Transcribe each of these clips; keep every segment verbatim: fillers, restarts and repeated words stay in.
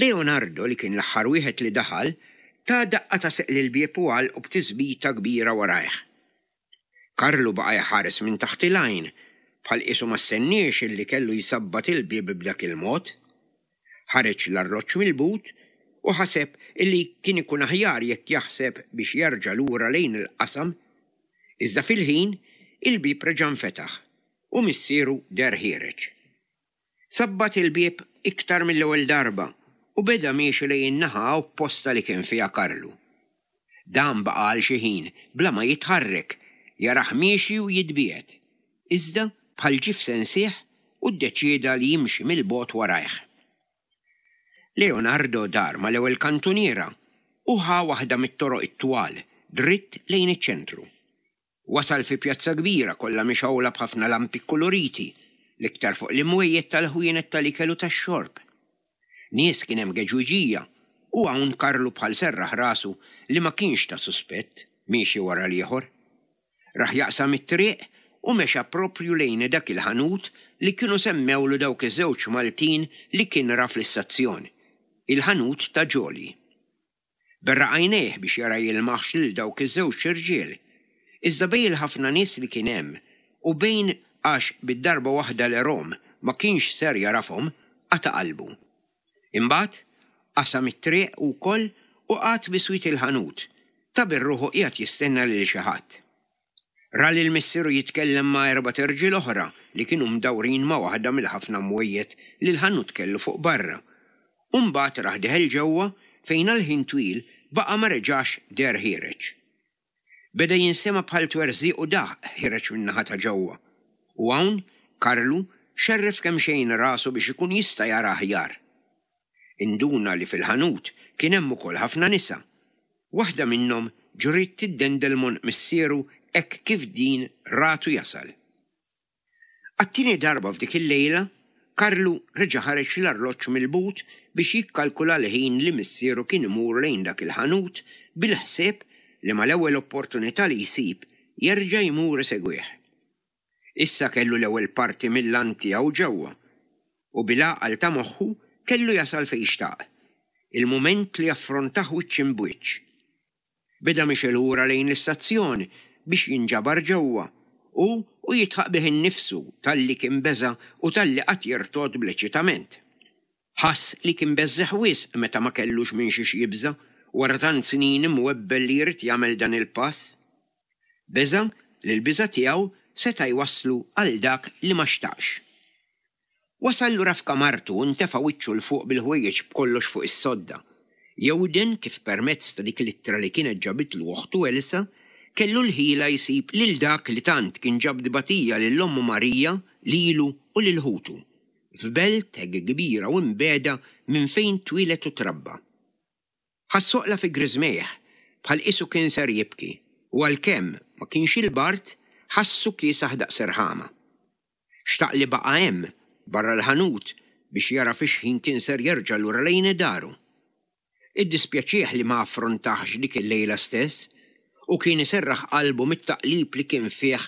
Leonardo, li kien l-aħħar wieħed li daħal, ta daqqa ta' seq lill-bieb u għalqu b'tisbita kbira warajh. Karlu baqa' jħares minn taħt il-għajn, bħal qisu ma stenniex illi kellu jsabbat il-bieb b'dak il-mod. Ħareġ l-arloġġ mill-but u ħaseb illi kien ikun aħjar jekk jaħseb biex jerġa' lura lejn il-qasam. Iżda fil-ħin il-bieb reġa' nfetaħ u missieru deher ħiereġ. Sabbat il-bieb iktar mill-ewwel darba u beda miexi lejn in-naħa opposta li kien fiha Karlu. Dan baqa' għal xi ħin bla ma jitħarrek, jarah miexi u jitbiegħed. Iżda bħal ġie f'sensih u ddeċieda li jimxi mill-bogħod warajh. Leonardo dar mal-ewwel kantuniera u ħa waħda mit-toroq it-twal dritt lejn iċ-ċentru. Wasal fi pjazza kbira kollha mixgħula b'ħafna lampi kkuluriti, l-iktar fuq l-imwejjed tal-ħwienet tal-ikel u tax-xorb. Nies kien hemm geġwiġija u hawn Karlu bħal serraħ rasu li ma kienx ta' suspett miexi wara l-ieħor. Rah jaqsam it-triq u mexa proprju lejn dak il-ħanut li kienu semmewlu dawk iż-żewġ Maltin li kien ra fl-istazzjon, il-ħanut ta' Ġoli. Berraq għajnejh biex jara jilmaħx lil dawk iż-żewġ irġiel. Iżda bejn il-ħafna nies li kien hemm u bejn għax bid-darba waħda li rom ma kienx ser jarafhom, qata' qalbu. Imbagħad qasam it-triq ukoll u qagħad biswit il-ħanut, ta' bir-ruħu qiegħed jistenna lil xi ħadd. Ra lil missieru jitkellem ma' erbat irġiel oħra li kienu mdawrin ma' waħda mill-ħafna mwejjed li l-ħanut kellu fuq barra. U mbagħad rah deħel ġewwa fejn għal ħin twil baqa' ma reġax deher ħiereġ. Beda jinsema' bħal twerżiq u daħq ħiereġ min-naħa ta' ġewwa. U hawn Karlu xerref kemxejn rasu biex ikun jista' jara aħjar. Induna li fil-ħanut kien hemm ukoll ħafna nisa. Waħda minnhom ġriet tiddendel m'għonq missieru hekk kif din ratu jasal. Għat-tieni darba f'dik il-lejla, Karlu reġa' ħareġ l-arloġġ mill-but biex jikkalkula l-ħin li missieru kien imur lejn dak il-ħanut bil-ħsieb li mal-ewwel opportunità li jsib jerġa' jmur isegwih. Issa kellu l-ewwel parti mill-għan tiegħu ġewwa u bil-għaqal ta' moħħu kellu jasal fejn xtaq, il-mument li jaffrontah wiċċ imb'wiċċ. Beda miexi lura lejn l-istazzjon biex jinġabar ġewwa u u jidħaq bih innifsu talli kien beża' u talli qagħad jirtogħod bl-eċitament. Ħass li kien beżżeħ wisq meta ma kellux minn xiex jibża' wara tant snin imwebbel li jrid jagħmel dan il-pass. Beża' li l-biża' tiegħu seta' jwasslu għal dak li ma xtaqx. Wasal lura f'kamartu u ntefa' wiċċu 'l fuq bil-ħwejjeġ b'kollox fuq is-sodda. Jewden kif permezz ta' dik l-ittra li kienet ġabitlu oħtu Elsa kellu l-ħila jsib lil dak li tant kien ġab tbatija lil ommu Marija, lilu u lil ħutu, f'belt hekk kbira u mbiegħda minn fejn twieled u trabba. Ħass għoqla fi griżmejh bħal qisu kien ser jibki u għalkemm ma kienx il-bard, ħassu kiesaħ daqs irħama. Xtaq li baqa' hemm, barra l-ħanut, biex jara fi x'ħin kien ser jerġa' lura lejn daru. Iddispjaċih li ma affrontahx dik il-lejla stess u kien iserraħ qalbu mit-taqlib li kien fih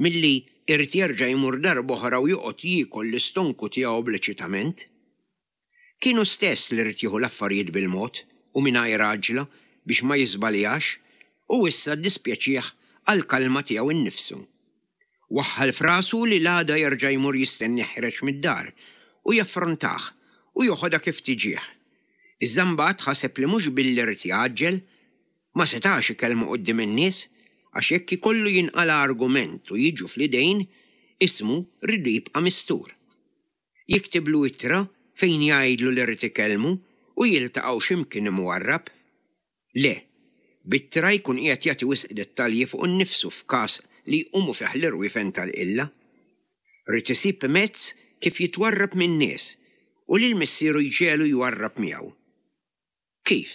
milli irid jerġa' jmur darb'oħra u joqgħod jiekol l-istonku tiegħu bl-eċitament. Kien hu stess li ried jieħu l-affarijiet bil-mod u mingħajr għaġla biex ma jiżbaljax u issa ddispjaċih għall-kalma tiegħu nnifsu. Waħħal f'rasu li l-għada jerġa' jmur jistennih ħiereġ mid-dar u jaffrontah u joħodha kif tiġih. Iżda mbagħad ħaseb li mhux billi ried jgħaġġel, ma setax ikellmu quddiem in-nies għax jekk ikollu jinqala' argument u jiġu fl-idejn, ismu riedu jibqa' mistur. Jiktiblu ittra fejn jgħidlu li ried ikellmu u jiltaqgħu x'imkien imwarrab. Le, b'ittra jkun qiegħed jagħti wisq dettalji fuq innifsu f'każ li jqumu fih l-irwiefen tal-qilla. Ried isib mezz kif jitwarrab min-nies u lil missieru jġegħlu jwarrab miegħu. Kif?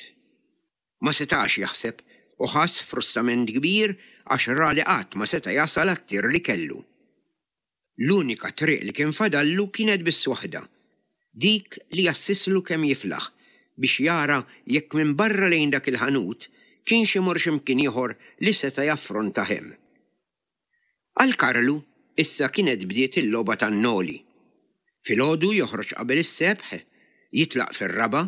Ma setax jaħseb u ħass frustament kbir għax ra li qatt ma seta' jasal għat-tir li kellu. L-unika triq li kien fadallu kienet biss waħda, dik li jassislu kemm jiflaħ biex jara jekk minn barra lejn dak il-ħanut kienx imur x'imkien ieħor li seta' jaffrontah hemm. Għal Karlu issa kienet bdiet il-logħba tan-noli. Filgħodu joħroġ qabel is-sebħ, jitlaq fir-raba'